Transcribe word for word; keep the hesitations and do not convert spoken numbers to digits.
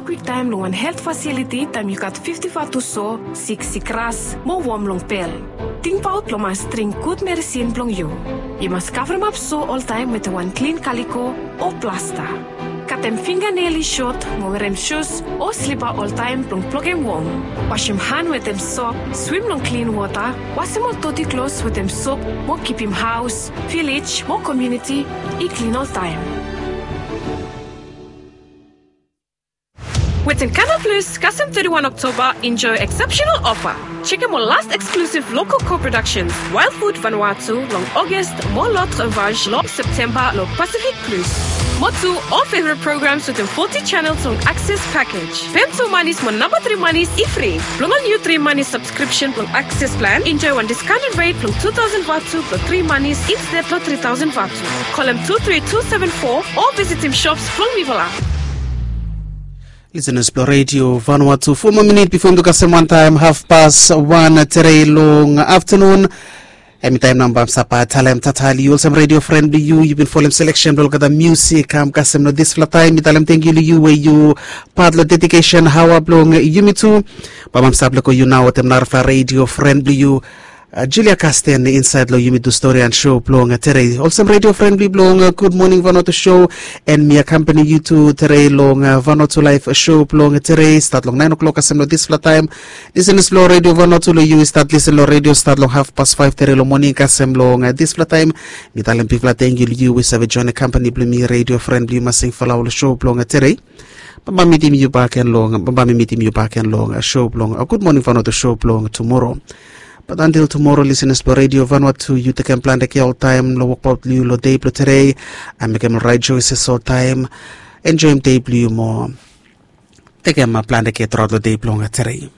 Kwiktaem long wan helt fasiliti taem yu gat fifti vatu so, siksik ras mo wom long bel. Tingbaot blong mas dring gud medisin blong yu. Yu mas kavremap so oltaem wetem wan klin kaliko o plasta. Katem finganel i sot mo werem sus o slipa oltaem blong blokem wom. Wasem han wetem sop, swim long klin wota, wasem ol doti klos wetem sop mo kipim haos, vilej mo komuniti i klin oltaem. Wetin Kanal Plus kasem thirty-one Oktoba, enjoy exceptional offer. Check out more last exclusive local co-productions, Wild Food Vanuatu long August, more Lot Ravage long September long Pacific Plus. More two all favorite programs within forty channels long Access Package. Pem two monies mo number three monies i free. Blong ol new three monies subscription blong Access Plan, enjoy one discounted rate blong two thousand vatu blong three monies instead blong three thousand vatu. Call em two three two seven four or visit him shops blong Vivala. Listeners blong Radio Vanuatu, four more minutes before yumi kasem wan taem half past one tere long afternoon. Em i taem nao bamsa bae talem tatali yu olsem radio friend blong yu, yu bin folem selection blong olgeta music kam kasem long dispela taem. Mi talem tengkiu long yu we yu pat long dedication hawa blong yumi tu. Bamsa blong yu nao wetem narafala radio friend blong yu, Julia Kasten, insait long Yumi Tu Stori and Show blong tere. Olsem radio friend blong Good Morning Vanuatu Show, and mi akampani yu tu tere long Vanuatu Live Show blong tere, stat long nine o'clock kasem long dispela taem. Listeners blong Radio Vanuatu, long yu i stat listen long radio stat long half past five tere long moning kasem long dispela taem. Mi talem bigfala tengkiu long yu we save join akampani blong mi, radio friend blong yu, masing fala long show blong tere. Bambae mi mitim yu baken long bambae mi mitim yu baken long show blong Good Morning Vanuatu show blong tumora. Bat antil tumora, listeners blong Radio Vanuatu, yu tekem plante kea oltaem long wokbaot blong yu long dei blong tere. Mekem rait joeses oltaem. Enjoem dei blong yu moa. Tekem plante kea truaot long dei blong tere.